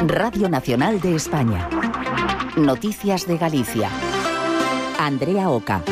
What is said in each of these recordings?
Radio Nacional de España. Noticias de Galicia. Andrea Oca.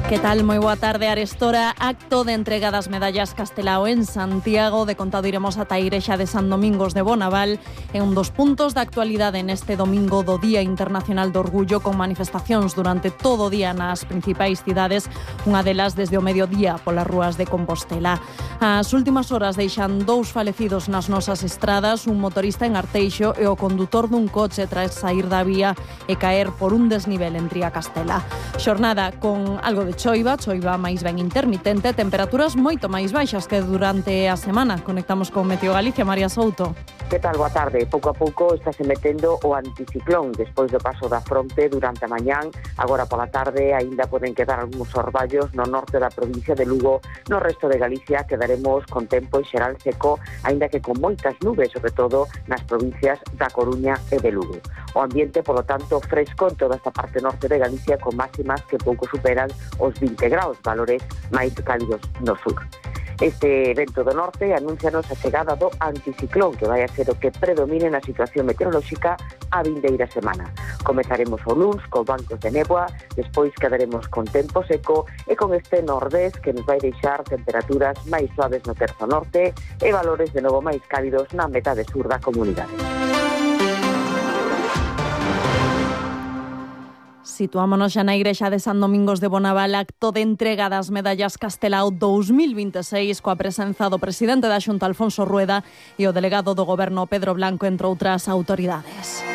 Que tal? Moi boa tarde, arestora acto de entrega das medallas Castelao en Santiago. De contado iremos ata a igrexa de San Domingos de Bonaval. É un dos puntos da actualidade neste domingo do Día Internacional do Orgullo, con manifestacións durante todo o día nas principais cidades, unha delas desde o mediodía polas rúas de Compostela. As últimas horas deixan 2 falecidos nas nosas estradas, un motorista en Arteixo e o condutor dun coche tras sair da vía e caer por un desnivel en Triacastela. Xornada con algo de choiva máis ben intermitente, temperaturas moito máis baixas que durante a semana. Conectamos con Meteo Galicia, María Souto. Que tal? Boa tarde. Pouco a pouco está se metendo o anticiclón despois do paso da fronte durante a mañán. Agora pola tarde aínda poden quedar algúns orballos no norte da provincia de Lugo. No resto de Galicia quedaremos con tempo en xeral seco, aínda que con moitas nubes, sobre todo nas provincias da Coruña e de Lugo. O ambiente, polo tanto, fresco en toda esta parte norte de Galicia, con máximas que pouco superan os 20 graus, valores máis cálidos no sur. Este vento do norte anúncianos a chegada do anticiclón, que vai a ser o que predomine na situación meteorolóxica a vindeira semana. Comezaremos o luns con bancos de néboa, despois quedaremos con tempo seco e con este nordés que nos vai deixar temperaturas máis suaves no terzo norte e valores de novo máis cálidos na metade sur da comunidade. Situámonos xa na igrexa de San Domingos de Bonaval, acto de entrega das medallas Castelao 2026 coa presenza do presidente da Xunta, Alfonso Rueda, e o delegado do Goberno, Pedro Blanco, entre outras autoridades.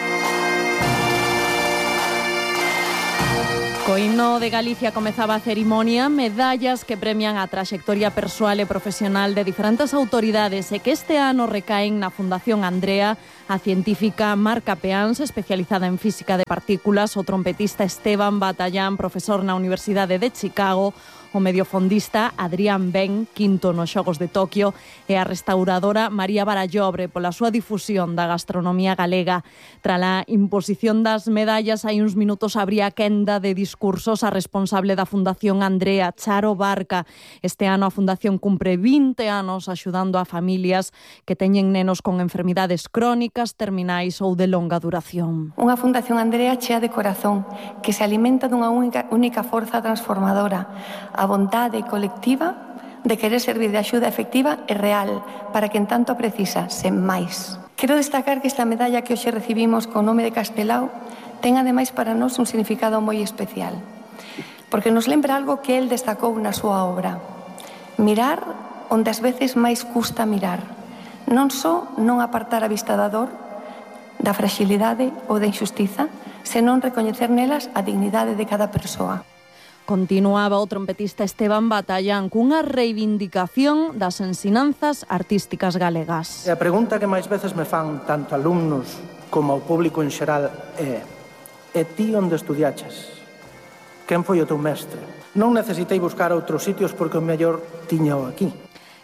Co himno de Galicia comezaba a cerimonia, medallas que premian a traxectoria persoal e profesional de diferentes autoridades e que este ano recaen na Fundación Andrea, a científica Marca Peáns, especializada en física de partículas, o trompetista Esteban Batallán, profesor na Universidade de Chicago, o mediofondista Adrián Ben, quinto nos Xogos de Toquio, e a restauradora María Barallobre pola súa difusión da gastronomía galega. Tras a imposición das medallas, hai uns minutos abría quenda de discursos a responsable da Fundación Andrea, Charo Barca. Este ano a Fundación cumpre 20 anos axudando a familias que teñen nenos con enfermidades crónicas, terminais ou de longa duración. Unha Fundación Andrea chea de corazón, que se alimenta dunha única forza transformadora, a vontade colectiva de querer servir de axuda efectiva e real para quen tanto precisa, sen máis. Quero destacar que esta medalla que hoxe recibimos co nome de Castelao ten ademais para nós un significado moi especial, porque nos lembra algo que el destacou na súa obra: mirar onde ás veces máis custa mirar, non só non apartar a vista da dor, da fragilidade ou da injustiza, senón recoñecer nelas a dignidade de cada persoa. Continuaba o trompetista Esteban Batallán cunha reivindicación das ensinanzas artísticas galegas. E a pregunta que máis veces me fan tanto alumnos como ao público en xeral é: e ti onde estudiaches? Quen foi o teu mestre? Non necesitei buscar outros sitios porque o mellor tiñao aquí.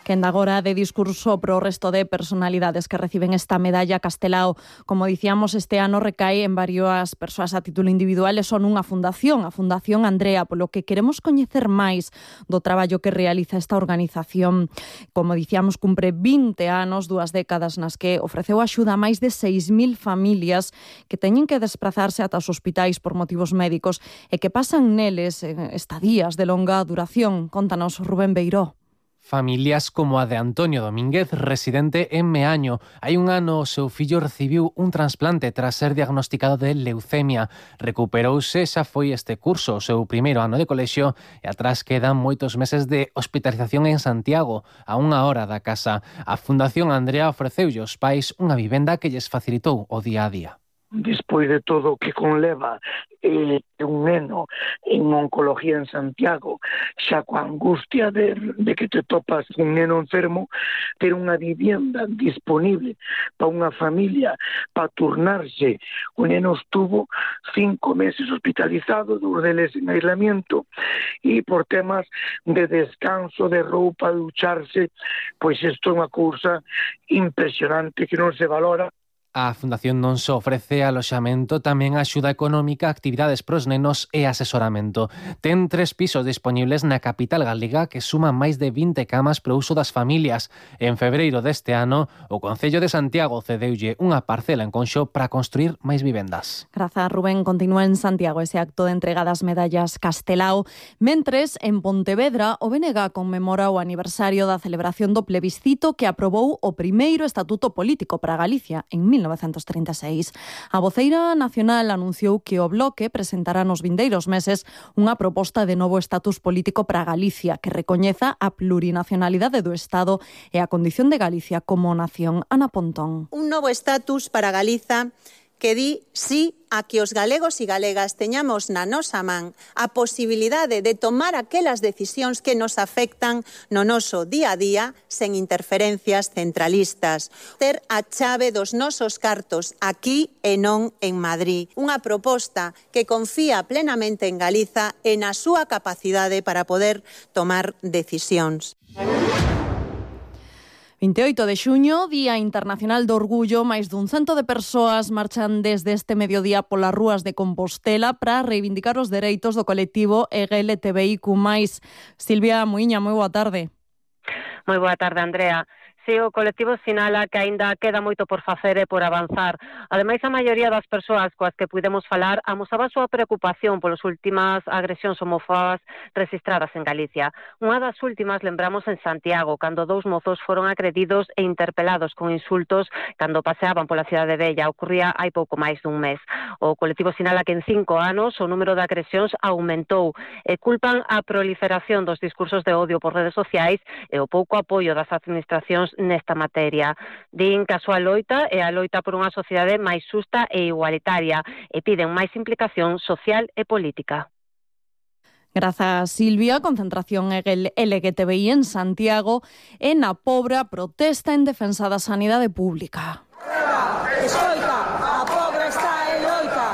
Quenda agora de discurso pro resto de personalidades que reciben esta medalla Castelao. Como dicíamos, este ano recae en varias persoas a título individual e son unha fundación, a Fundación Andrea, polo que queremos coñecer máis do traballo que realiza esta organización. Como dicíamos, cumpre 20 anos, 2 décadas nas que ofreceu axuda a máis de 6.000 familias que teñen que desplazarse ata os hospitais por motivos médicos e que pasan neles estadías de longa duración. Contanos, Rubén Beiró. Familias como a de Antonio Domínguez, residente en Meaño. Hai un ano o seu fillo recibiu un trasplante tras ser diagnosticado de leucemia. Recuperouse, xa foi este curso, o seu primeiro ano de colexio, e atrás quedan moitos meses de hospitalización en Santiago, a 1 hora da casa. A Fundación Andrea ofreceulle aos pais unha vivenda que lles facilitou o día a día. Despois de todo o que conleva un neno en oncología en Santiago, xa coa angustia de que te topas un neno enfermo, ter unha vivienda disponible para unha familia para turnarse. O neno estuvo 5 meses hospitalizado, 2 deles en aislamiento, e por temas de descanso, de roupa, de ducharse, pois isto é unha cousa impresionante que non se valora. A Fundación non só ofrece aloxamento, tamén axuda económica, actividades pros nenos e asesoramento. Ten 3 pisos disponibles na capital galega que suman máis de 20 camas para o uso das familias. En febreiro deste ano, o Concello de Santiago cedeulle unha parcela en Conxo para construir máis vivendas. Grazas, Rubén. Continúa en Santiago ese acto de entrega das medallas Castelao. Mentres, en Pontevedra, o BNG conmemora o aniversario da celebración do plebiscito que aprobou o primeiro estatuto político para Galicia en 1936. A voceira nacional anunciou que o Bloque presentará nos vindeiros meses unha proposta de novo estatus político para Galicia que recoñeza a plurinacionalidade do Estado e a condición de Galicia como nación. Ana Pontón. Un novo estatus para Galiza que di sí a que os galegos e galegas teñamos na nosa man a posibilidade de tomar aquelas decisións que nos afectan no noso día a día sen interferencias centralistas. Ter a chave dos nosos cartos aquí e non en Madrid. Unha proposta que confía plenamente en Galiza e na súa capacidade para poder tomar decisións. 28 de xuño, Día Internacional do Orgullo, máis dun 100 de persoas marchan desde este mediodía polas rúas de Compostela para reivindicar os dereitos do colectivo LGTBIQ+. Silvia Muiña, moi boa tarde. Moi boa tarde, Andrea. Si, o colectivo sinala que aínda queda moito por facer e por avanzar. Ademais, a maioría das persoas coas que pudemos falar amosaba a súa preocupación polas últimas agresións homófobas registradas en Galicia. Unha das últimas lembramos en Santiago, cando 2 mozos foron agredidos e interpelados con insultos cando paseaban pola cidade vella. Ocurría hai pouco máis dun mes. O colectivo sinala que en 5 anos o número de agresións aumentou e culpan a proliferación dos discursos de odio por redes sociais e o pouco apoio das administracións nesta materia. Din que a súa loita é a loita por unha sociedade máis xusta e igualitaria e piden máis implicación social e política. Grazas, Silvia. Concentración LGTBI en Santiago e na Pobra protesta en defensa da sanidade pública. Escoita, a Pobra está en loita.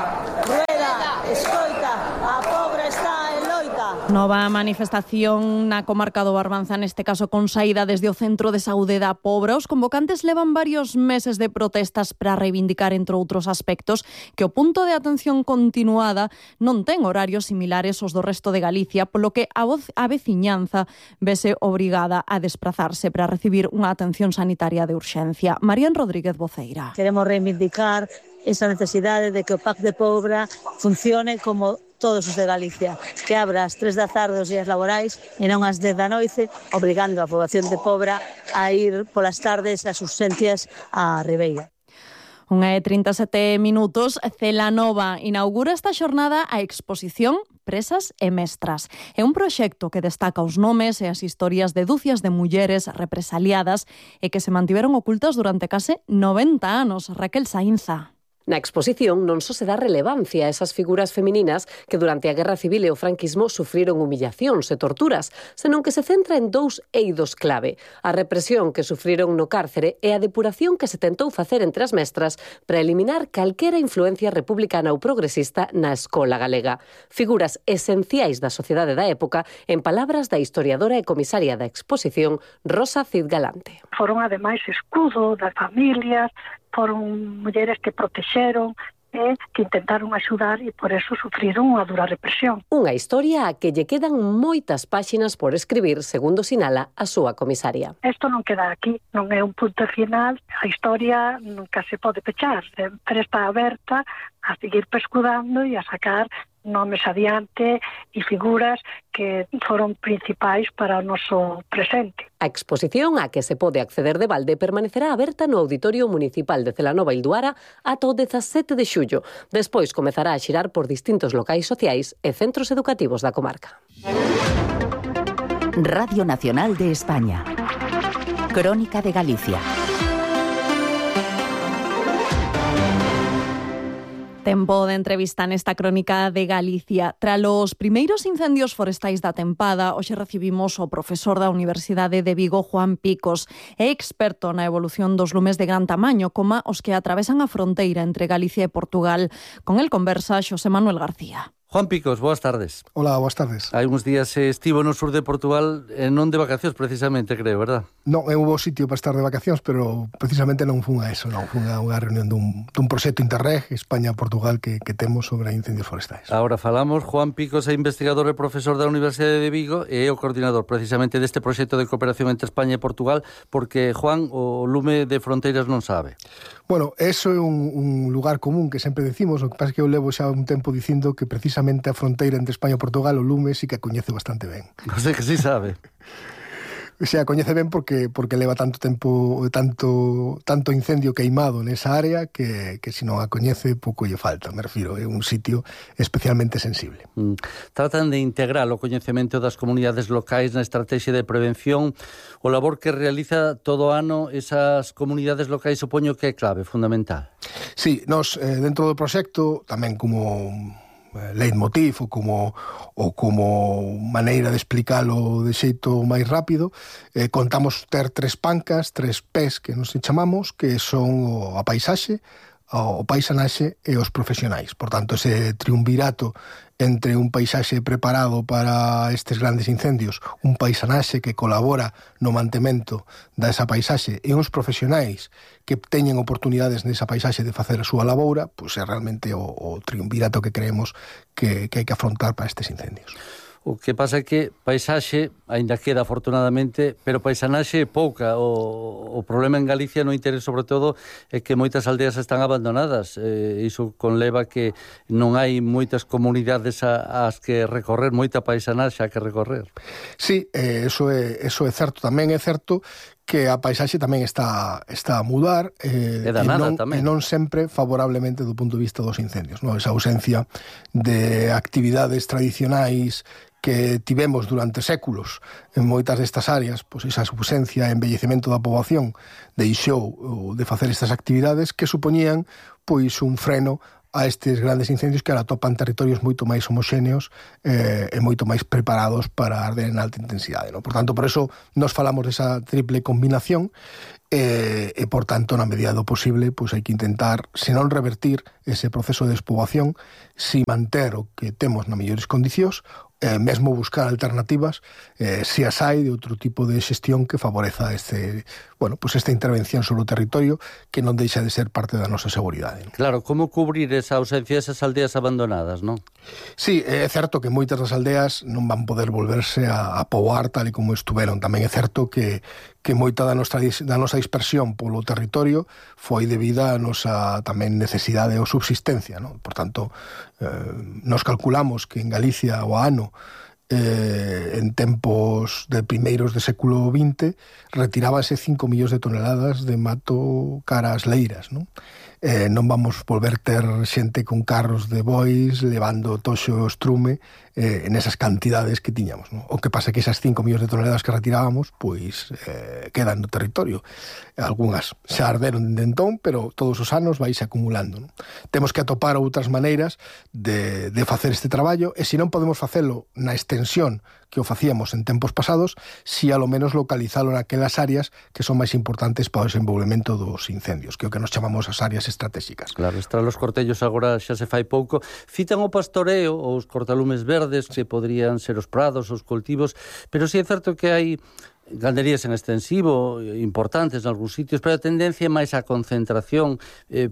Rueda, escoita, a Pobra está en loita. Nova manifestación na comarca do Barbanza, neste caso con saída desde o Centro de Saúde da Pobra. Os convocantes levan varios meses de protestas para reivindicar, entre outros aspectos, que o punto de atención continuada non ten horarios similares aos do resto de Galicia, polo que a veciñanza vese obrigada a desplazarse para recibir unha atención sanitaria de urxencia. Marían Rodríguez, voceira. Queremos reivindicar esa necesidade de que o PAC de Pobra funcione como todos os de Galicia, que abra ás 3 da tarde os días laborais e non ás 10 da noite, obrigando a poboación de Pobra a ir polas tardes ás urxencias á Ribeira. 1:37 minutos, Celanova inaugura esta xornada a exposición Presas e Mestras. É un proxecto que destaca os nomes e as historias de dúcias de mulleres represaliadas e que se mantiveron ocultas durante case 90 anos. Raquel Sainza. Na exposición non só se dá relevancia a esas figuras femininas que durante a Guerra Civil e o franquismo sufriron humillacións e torturas, senón que se centra en 2 eidos clave: a represión que sufriron no cárcere e a depuración que se tentou facer entre as mestras para eliminar calquera influencia republicana ou progresista na escola galega. Figuras esenciais da sociedade da época, en palabras da historiadora e comisaria da exposición, Rosa Cid Galante. Foron ademais escudo das familias, foron mulleres que protexeron e que intentaron axudar e por eso sufriron unha dura represión. Unha historia a que lle quedan moitas páxinas por escribir, segundo sinala a súa comisaria. Isto non queda aquí, non é un punto final, a historia nunca se pode pechar, sempre está aberta a seguir pescudando e a sacar nomes adiante e figuras que foron principais para o noso presente. A exposición a que se pode acceder de balde permanecerá aberta no Auditorio Municipal de Celanova Ilduara ata o 17 de xullo. Despois comezará a xirar por distintos locais sociais e centros educativos da comarca. Radio Nacional de España. Crónica de Galicia. Tempo de entrevista nesta crónica de Galicia. Tras os primeiros incendios forestais da tempada, hoxe recibimos o profesor da Universidade de Vigo, Juan Picos, é experto na evolución dos lumes de gran tamaño, como os que atravesan a fronteira entre Galicia e Portugal. Con el conversa Xosé Manuel García. Juan Picos, boas tardes. Hola, boas tardes. Hai uns días estivo no sur de Portugal, non de vacacións precisamente, creo, verdad? Non, é un bo sitio para estar de vacacións, pero precisamente non fun a eso, non fun a unha reunión dun proxecto Interreg España-Portugal que temos sobre incendios forestais. Agora falamos, Juan Picos é investigador e profesor da Universidade de Vigo e é o coordinador precisamente deste proxecto de cooperación entre España e Portugal, porque, Juan, o lume de fronteiras non sabe. Bueno, eso é un lugar común que sempre decimos, o que pasa que eu levo xa un tempo dicindo que precisamente a fronteira entre España e Portugal o lume sí que a coñece bastante ben. O sea que sí sabe. O sea, coñece ben porque leva tanto tempo, tanto incendio queimado nesa área que se non a coñece pouco lle falta, me refiro, é un sitio especialmente sensible. Tratan de integrar o coñecemento das comunidades locais na estrategia de prevención. O labor que realiza todo ano esas comunidades locais supoño que é clave, fundamental. Sí, nós dentro do proxecto, tamén como leitmotiv ou como maneira de explicarlo de xeito máis rápido, contamos ter 3 pancas, 3 P's que nos chamamos, que son a paisaxe, o paisanaxe e os profesionais. Por tanto, ese triunvirato entre un paisaxe preparado para estes grandes incendios, un paisanaxe que colabora no mantemento desa paisaxe e uns profesionais que teñen oportunidades nesa paisaxe de facer a súa laboura, pois é realmente o triunvirato que creemos que hai que afrontar para estes incendios. O que pasa é que paisaxe aínda queda afortunadamente, pero paisanaxe é pouca. O problema en Galicia no interés sobre todo é que moitas aldeas están abandonadas. Iso conleva que non hai moitas comunidades ás que recorrer, moita paisanaxe a que recorrer. Sí, eso é certo. Tamén é certo que a paisaxe tamén está a mudar e non sempre favorablemente do punto de vista dos incendios, non? Esa ausencia de actividades tradicionais que tivemos durante séculos en moitas destas áreas, pois esa ausencia e envellecemento da poboación deixou de facer estas actividades que supoñían pois un freno a estes grandes incendios que ahora topan territorios moito máis homoxéneos e moito máis preparados para arder en alta intensidade, non? Por tanto, por eso nos falamos desa triple combinación e por tanto, na medida do posible, pois hai que intentar, se non revertir ese proceso de despoboación, si manter o que temos nas mellores condicións, mesmo buscar alternativas, se as hai de outro tipo de xestión que favoreza esta intervención sobre o territorio que non deixa de ser parte da nosa seguridade, non? Claro, como cubrir esa ausencia desas aldeas abandonadas, non? Sí, é certo que moitas das aldeas non van poder volverse a poboar tal e como estuveron. Tamén é certo que moita da nosa dispersión polo territorio foi debida a nosa tamén necesidade ou subsistencia, non? Por tanto, nos calculamos que en Galicia o ano en tempos de primeiros de século XX retirábase 5 millóns de toneladas de mato cara ás leiras, non? Non vamos volver ter xente con carros de bois levando toxo o estrume nesas cantidades que tiñamos, non? O que pasa é que esas 5 millóns de toneladas que retirábamos pois quedan no territorio. Algúnas xa arderon de entón, pero todos os anos vais acumulando, non? Temos que atopar outras maneiras de facer este traballo e se non podemos facelo na extensión que o facíamos en tempos pasados, si a lo menos localizalo naquelas áreas que son máis importantes para o desenvolvemento dos incendios, que é o que nos chamamos as áreas estratégicas. Claro, están os cortellos agora xa se fai pouco. Citan o pastoreo, os cortalumes verdes, que poderían ser os prados, os cultivos, pero si é certo que hai ganderías en extensivo importantes en algúns sitios, pero a tendencia é máis a concentración,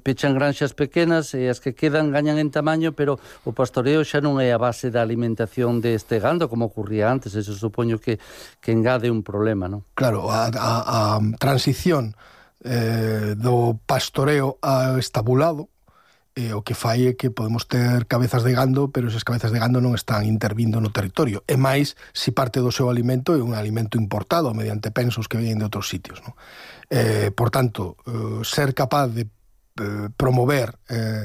pechan granxas pequenas e as que quedan gañan en tamaño, pero o pastoreo xa non é a base da alimentación deste gando como ocurría antes. Eso supoño que engade un problema, non? Claro, a transición do pastoreo ao estabulado o que fai é que podemos ter cabezas de gando, pero esas cabezas de gando non están intervindo no territorio. E máis, se parte do seu alimento é un alimento importado mediante pensos que veñen de outros sitios, non? Por tanto, ser capaz de promover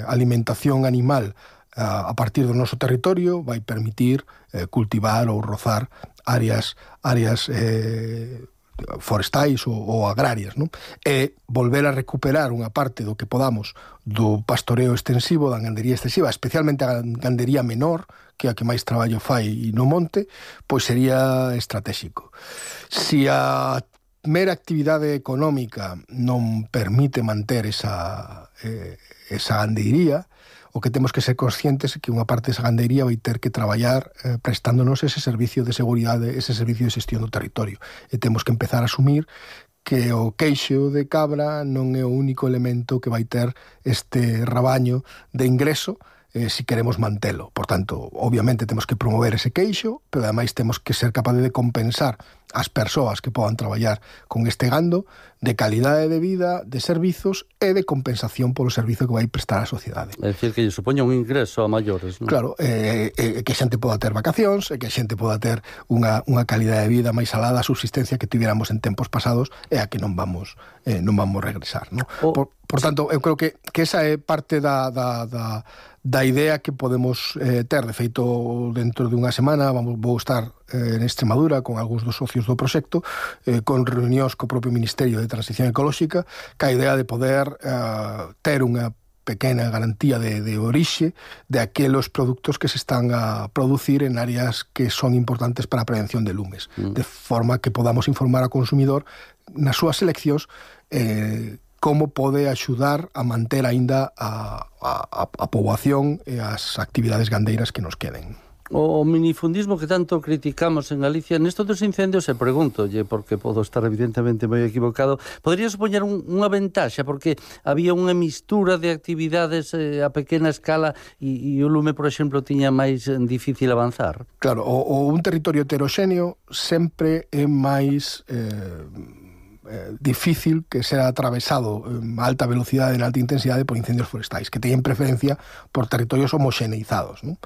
alimentación animal a partir do noso territorio vai permitir cultivar ou rozar áreas forestais ou agrarias, non? E volver a recuperar unha parte do que podamos do pastoreo extensivo, da gandería extensiva, especialmente a gandería menor, que é a que máis traballo fai no monte, pois sería estratégico. Se a mera actividade económica non permite manter esa gandeiría, o que temos que ser conscientes é que unha parte desa gandeiría vai ter que traballar prestándonos ese servicio de seguridade, ese servicio de xestión do territorio. E temos que empezar a asumir que o queixo de cabra non é o único elemento que vai ter este rabaño de ingreso si queremos mantelo. Por tanto, obviamente temos que promover ese queixo, pero ademais temos que ser capaces de compensar as persoas que podan traballar con este gando de calidade de vida, de servizos e de compensación polo servizo que vai prestar á sociedade. É dicir, que lle supoña un ingreso a maiores, non? Claro, que a xente poda ter vacacións, e que a xente poda ter unha calidade de vida máis alada a subsistencia que tivéramos en tempos pasados e a que non vamos regresar, non? Por tanto, eu creo que esa é parte da idea que podemos ter. De feito, dentro de unha semana vou estar en Extremadura con algúns dos socios do proxecto, con reunións co propio Ministerio de Transición Ecolóxica, ca idea de poder ter unha pequena garantía de orixe de aqueles produtos que se están a producir en áreas que son importantes para a prevención de lumes, de forma que podamos informar ao consumidor nas súas seleccións como pode axudar a manter aínda a poboación e as actividades gandeiras que nos queden. O minifundismo que tanto criticamos en Galicia, nesto dos incendios, se pregúntolle, porque podo estar evidentemente moi equivocado, podría supoñer unha ventaxa, porque había unha mistura de actividades a pequena escala e o lume, por exemplo, tiña máis difícil avanzar. Claro, un territorio heteroxéneo sempre é máis difícil que será atravesado a alta velocidade e en alta intensidade por incendios forestais, que teñen preferencia por territorios homoxeneizados, non?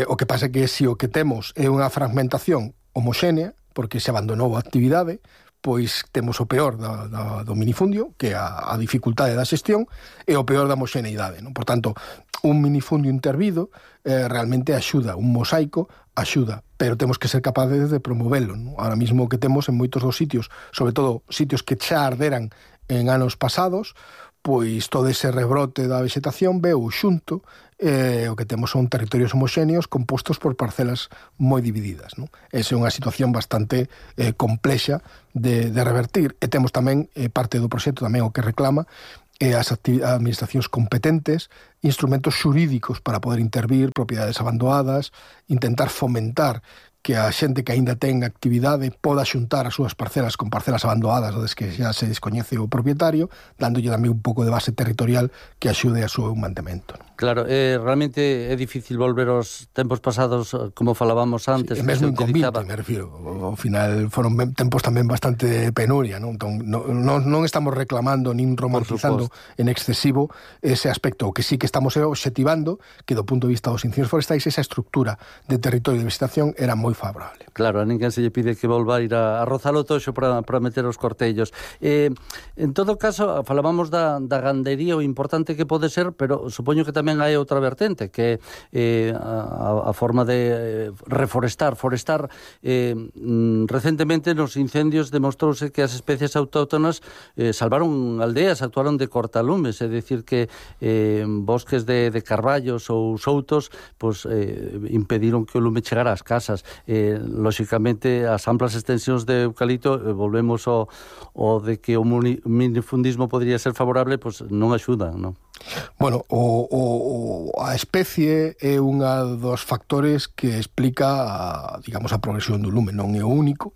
O que pasa é que se o que temos é unha fragmentación homoxénea, porque se abandonou a actividade, pois temos o peor do minifundio, que é a dificultade da xestión, e o peor da homoxeneidade, non? Por tanto, un minifundio intervido realmente axuda, un mosaico axuda, pero temos que ser capaces de promovelo, non? Ahora mismo o que temos en moitos dos sitios, sobre todo sitios que xa arderan en anos pasados, pois todo ese rebrote da vegetación veu xunto, o que temos son territorios homoxéneos compostos por parcelas moi divididas, non? Esa é unha situación bastante complexa de revertir, e temos tamén parte do proxecto tamén o que reclama as administracións competentes, instrumentos xurídicos para poder intervir propiedades abandonadas, intentar fomentar que a xente que aínda ten actividade poda xuntar as súas parcelas con parcelas abandonadas onde que xa se descoñece o propietario, dándolle tamén un pouco de base territorial que axude a súa mantemento. Claro, realmente é difícil volver aos tempos pasados como falábamos antes. Sí, mesmo inconvinte, me refiro. Ao final foron tempos tamén bastante penuria, non? Entón, non estamos reclamando nin romantizando en excesivo ese aspecto. O que sí que estamos obxectivando que do punto de vista dos incendios forestais esa estructura de territorio de vegetación era moi favorable. Claro, a ninguén se lle pide que volva a ir a rozar o toxo para meter os cortellos. En todo caso, falábamos da gandería, o importante que pode ser, pero supoño que tamén hai outra vertente, que é a forma de reforestar. Recentemente nos incendios demostrouse que as especies autóctonas salvaron aldeas, actuaron de cortalumes, é dicir que bosques de carballos ou soutos pues, impediron que o lume chegara ás casas. Lóxicamente, as amplas extensións de eucalipto, volvemos ao de que o minifundismo podría ser favorable, pues non axudan, non? Bueno, a especie é unha dos factores que explica, digamos, a progresión do lume. Non é o único,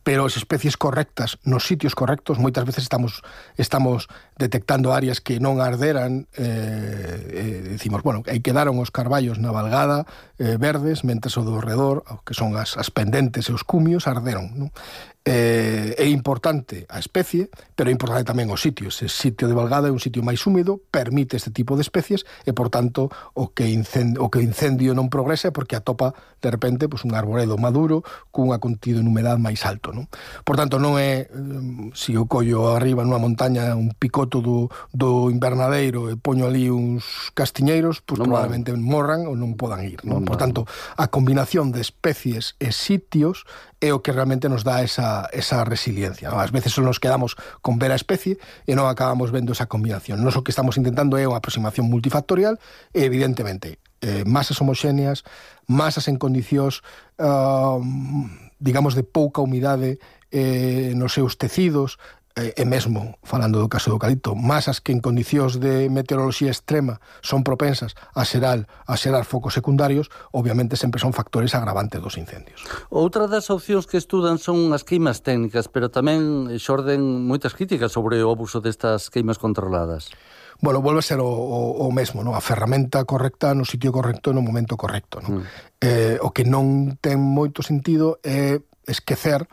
pero as especies correctas nos sitios correctos, moitas veces estamos detectando áreas que non arderan, decimos, bueno, aí quedaron os carballos na valgada verdes, mentres o do redor, que son as pendentes e os cumios, arderon, non? É importante a especie, pero é importante tamén o sitio. Ese sitio de valgada é un sitio máis húmedo, permite este tipo de especies e, por tanto, o que incendio non progresa porque atopa, de repente, pues, un arboredo maduro cunha contido en humedad máis alto, non? Por tanto, non é se o collo arriba nunha montaña un picoto do invernadeiro e poño ali uns castiñeiros, pues probablemente morran ou non podan ir, non? Por tanto, a combinación de especies e sitios é o que realmente nos dá esa resiliencia. Ás veces só nos quedamos con ver a especie e non acabamos vendo esa combinación. Nos o que estamos intentando é unha aproximación multifactorial e, evidentemente, masas homoxéneas, masas en condicións, digamos, de pouca humidade nos seus tecidos, e mesmo, falando do caso do eucalipto, masas que en condicións de meteoroloxía extrema son propensas a xerar focos secundarios, obviamente sempre son factores agravantes dos incendios. Outra das opcións que estudan son as queimas técnicas, pero tamén xorden moitas críticas sobre o abuso destas queimas controladas. Bueno, volve a ser o mesmo, non? A ferramenta correcta no sitio correcto no momento correcto, non? O que non ten moito sentido é esquecer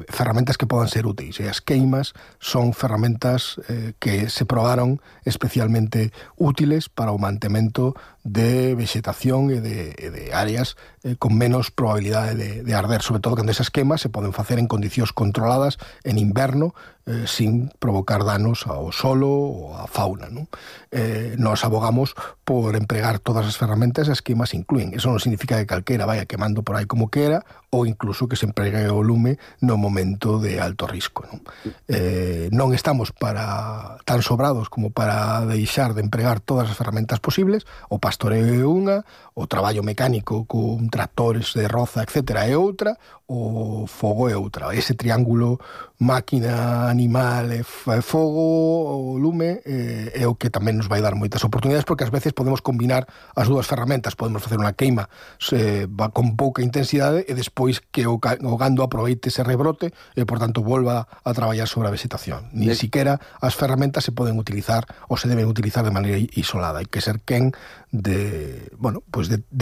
ferramentas que podan ser úteis, e as queimas son ferramentas que se probaron especialmente útiles para o mantemento de vegetación e de áreas con menos probabilidade de arder, sobre todo cando esas queimas se poden facer en condicións controladas en inverno, sin provocar danos ao solo ou á fauna, non? Nos abogamos por empregar todas as ferramentas, as queimas incluen. Eso non significa que calquera vaya quemando por aí como quera, ou incluso que se empregue o lume no momento de alto risco, non? Non estamos tan sobrados como para deixar de empregar todas as ferramentas posibles. O pastoreo é unha, o traballo mecánico con tractores de roza, etc., é outra, o fogo é outra. Ese triángulo máquina, animal e fogo, o lume, é o que tamén nos vai dar moitas oportunidades, porque ás veces podemos combinar as dúas ferramentas. Podemos facer unha queima con pouca intensidade e despois que o gando aproveite ese rebrote e, por tanto, volva a traballar sobre a vegetación. Ni siquiera as ferramentas se poden utilizar ou se deben utilizar de maneira isolada. Hai que ser quen de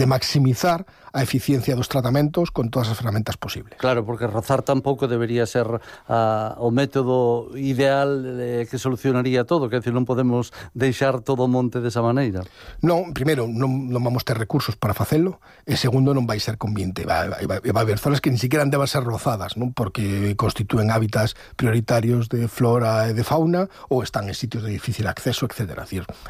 maximizar a eficiencia dos tratamentos con todas as ferramentas posibles. Claro, porque rozar tampouco debería ser o método ideal que solucionaría todo, que non podemos deixar todo o monte desa maneira. Non, primeiro, non vamos ter recursos para facelo, e segundo, non vai ser conveniente. Vai haber zonas que ni siquiera deban ser rozadas, non? Porque constitúen hábitats prioritarios de flora e de fauna, ou están en sitios de difícil acceso, etc.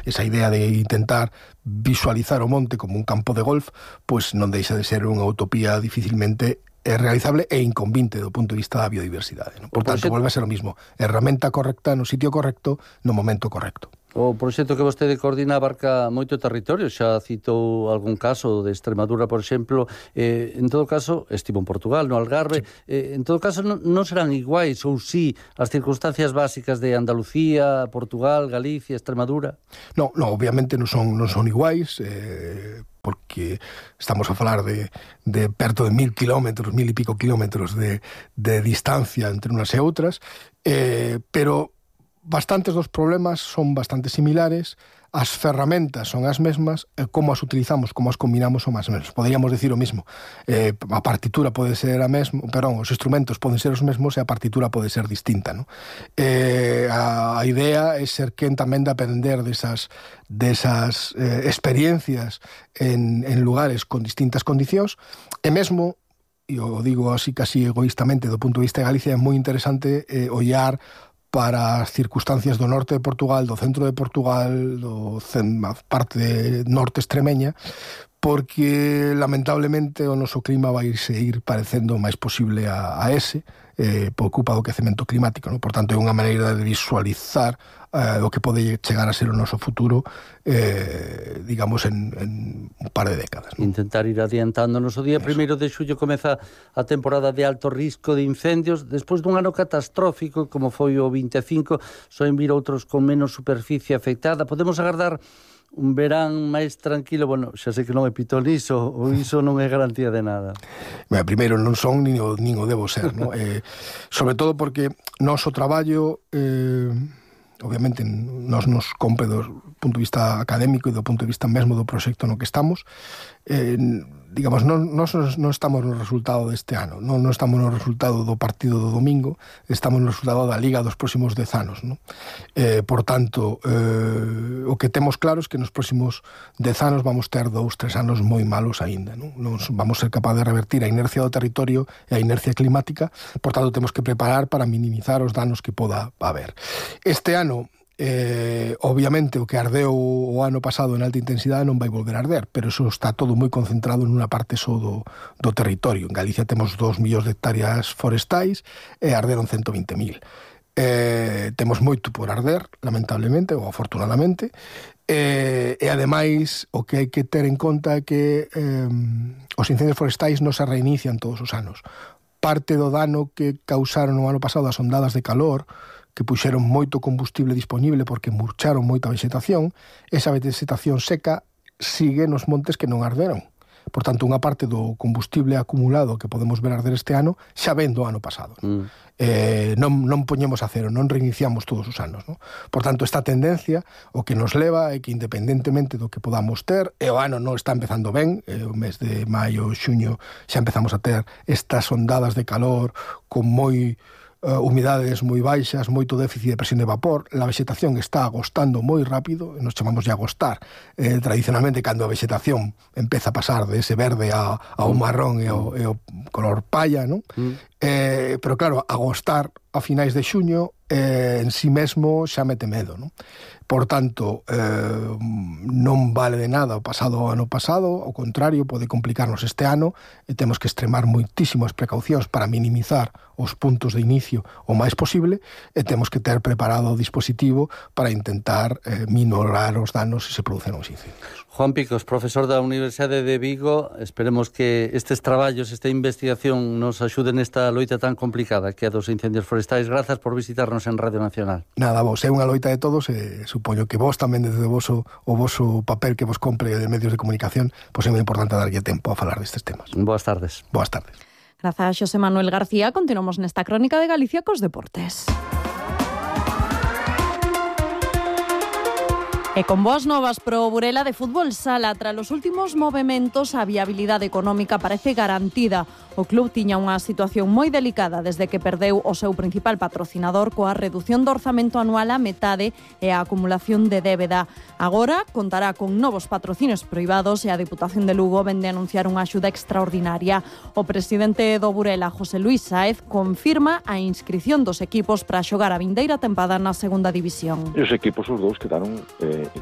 Esa idea de intentar visualizar o monte como un campo de golf, pois non deixa de ser unha utopía dificilmente realizable e inconvinte do punto de vista da biodiversidade, non? Por tanto, volve a ser o mismo. Herramienta correcta no sitio correcto, no momento correcto. O proxecto que vostede coordina abarca moito territorio, xa citou algún caso de Extremadura, por exemplo, en todo caso, estivo en Portugal, no Algarve, en todo caso non serán iguais, ou si as circunstancias básicas de Andalucía, Portugal, Galicia, Extremadura? Non, obviamente non son iguais, porque estamos a falar de perto de 1.000 kilómetros, 1.000 e pico kilómetros de distancia entre unas e outras, pero bastantes dos problemas son bastante similares, as ferramentas son as mesmas, como as utilizamos, como as combinamos son as mesmas. Poderíamos decir o mismo, a partitura pode ser a mesma, os instrumentos poden ser os mesmos e a partitura pode ser distinta, non? A idea é ser quen tamén de aprender desas experiencias en lugares con distintas condicións, e mesmo, e o digo así casi egoístamente do punto de vista de Galicia, é moi interesante ollar para as circunstancias do norte de Portugal, do centro de Portugal, a parte norte extremeña, porque lamentablemente o noso clima vai ir parecendo o máis posible a ese, por culpa do quecemento climático, non? Por tanto, é unha maneira de visualizar o que pode chegar a ser o noso futuro, digamos, en un par de décadas, non? Intentar ir adiantándonos. O día 1 de xullo comeza a temporada de alto risco de incendios. Despois dun ano catastrófico, como foi o 25, soen vir outros con menos superficie afectada. Podemos agardar un verán máis tranquilo? Bueno, xa sei que non é pitón iso, ou iso non é garantía de nada. Primeiro, non son nin o debo ser, non? Sobre todo porque noso traballo, obviamente, nos compre do punto de vista académico e do punto de vista mesmo do proxecto no que estamos, digamos, non estamos no resultado deste ano, non estamos no resultado do partido do domingo, estamos no resultado da Liga dos próximos 10 anos, non? Por tanto, o que temos claro é que nos próximos 10 anos vamos ter 2-3 anos moi malos aínda, non? Non vamos ser capaces de revertir a inercia do territorio e a inercia climática, por tanto, temos que preparar para minimizar os danos que poda haber. Este ano, obviamente, o que ardeu o ano pasado en alta intensidade non vai volver a arder, pero eso está todo moi concentrado nunha parte só do territorio. En Galicia temos 2 millóns de hectáreas forestais e arderon 120.000. Temos moito por arder, lamentablemente ou afortunadamente, e ademais o que hai que ter en conta é que os incendios forestais non se reinician todos os anos. parte do dano que causaron no ano pasado as ondadas de calor, que puxeron moito combustible disponible porque murcharon moita vegetación, esa vegetación seca sigue nos montes que non arderon. Por tanto, unha parte do combustible acumulado que podemos ver arder este ano xa ven do ano pasado. Non poñemos a cero, non reiniciamos todos os anos. Non? Por tanto, esta tendencia o que nos leva é que independentemente do que podamos ter, e o ano non está empezando ben, o mes de maio, xuño, xa empezamos a ter estas ondadas de calor con humidades moi baixas, moito déficit de presión de vapor, a vegetación está agostando moi rápido, nos chamamos de agostar, tradicionalmente cando a vegetación empeza a pasar de ese verde ao marrón e ao color palla, non? Pero claro, agostar a finais de xuño en si mesmo xa mete medo, non? Por tanto, non vale de nada o pasado ano pasado, ao contrario, pode complicarnos este ano e temos que extremar moitísimas precaucións para minimizar os puntos de inicio o máis posible e temos que ter preparado o dispositivo para intentar minorar os danos se se producen os incendios. Juan Picos, profesor da Universidade de Vigo, esperemos que estes traballos, esta investigación nos axude nesta loita tan complicada que é dos incendios forestais. Grazas por visitarnos en Radio Nacional. Nada, vos, é unha loita de todos e supoño que vos tamén desde o voso papel que vos compre de medios de comunicación, pois é moi importante darlle tempo a falar destes temas. Boas tardes. Boas tardes. Grazas, Xosé Manuel García. Continuamos nesta crónica de Galicia cos deportes. E con boas novas pro Burela de Fútbol Sala, tras os últimos movementos, a viabilidade económica parece garantida. O club tiña unha situación moi delicada desde que perdeu o seu principal patrocinador coa reducción do orzamento anual á metade e a acumulación de débeda. Agora contará con novos patrocinios privados e a Deputación de Lugo vende a anunciar unha axuda extraordinaria. O presidente do Burela, José Luis Sáez, confirma a inscrición dos equipos para xogar a vindeira tempada na segunda división. E os equipos, os dous, quedaron,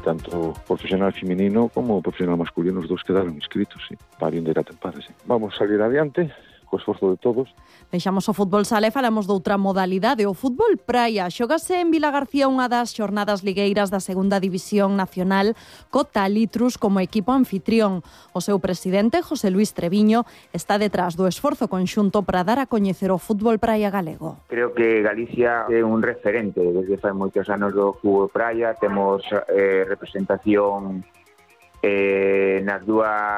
tanto profesional feminino como profesional masculino, os dous quedaron inscritos, sí, para a vindeira tempada, sí. Vamos a salir adiante, co esforzo de todos. Deixamos o fútbol sala e falamos doutra modalidade, o fútbol praia. Xógase en Vilagarcía unha das xornadas ligueiras da segunda división nacional co Talitrus como equipo anfitrión. O seu presidente, José Luis Treviño, está detrás do esforzo conxunto para dar a coñecer o fútbol praia galego. Creo que Galicia é un referente desde fai moitos anos do fútbol praia. Temos representación nas dúas